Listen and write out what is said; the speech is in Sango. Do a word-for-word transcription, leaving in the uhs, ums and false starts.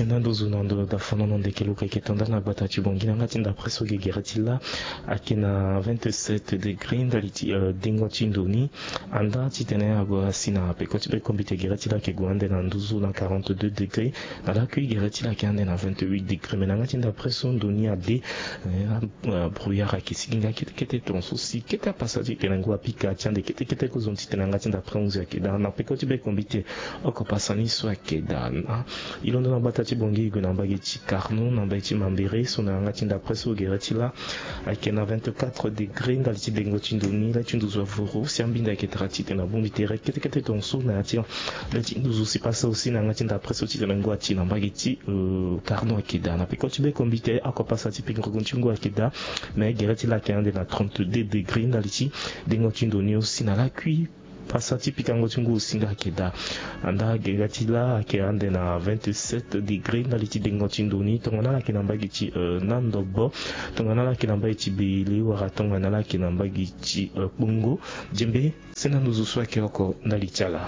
Nda nduzu na ndo da fanono ndeke luka eke tonda na gbata ti bongi na nga ti ndapre so ge gere ti la ake na vingt-sept degré ndali ti dengo ti ndo ni. Anda ti tene ague asi na peko ti be kombite gere ti la ake gue ande na nduzu na quarante-deux degré. Na lakui gere ti la ake ande na vingt-huit degré me na nga ti ndapre so ndo ni ade. Brouillard ake sigi nga kete kete tonga so si kete apasa ti tene ngu apika ti ande kete kete kozo ti tene na nga ti ndapre onze ake daa na peko ti be kombite. Oko pasa ni so ake daa na e londo na gbata ti bongi e gue na mbage ti carno na mbage ti mambere so na yanga ti ndapre so gere ti la ake na vingt-quatre degré ndali ti dengo ti ndo ni la ti nduzu avuru si ambinda eke tara ti tene abongbi tere kete kete tonga so na ya ti la ti nduzu si pasa aussi na yanga ti ndapre so ti tene ngu ati na mbage ti carno ake daa na peko ti be kombite oko pasa ti pingo ti ngu ake daa. Me gere ti la ake ande na trente-deux degré ndali ti dengo ti ndo ni aussi na lakui pasa ti pikango ti ngu osinga ake daa. Anda gere ti la ake ande na vingt-sept degré ndali ti dengo ti ndo ni tongana la ake na mbage ti nandobo tongana la ake na mbage ti beyele wala tongana la ake na mbage ti kpongo. Diembe senda nduzu so ake oko ndali ti ala.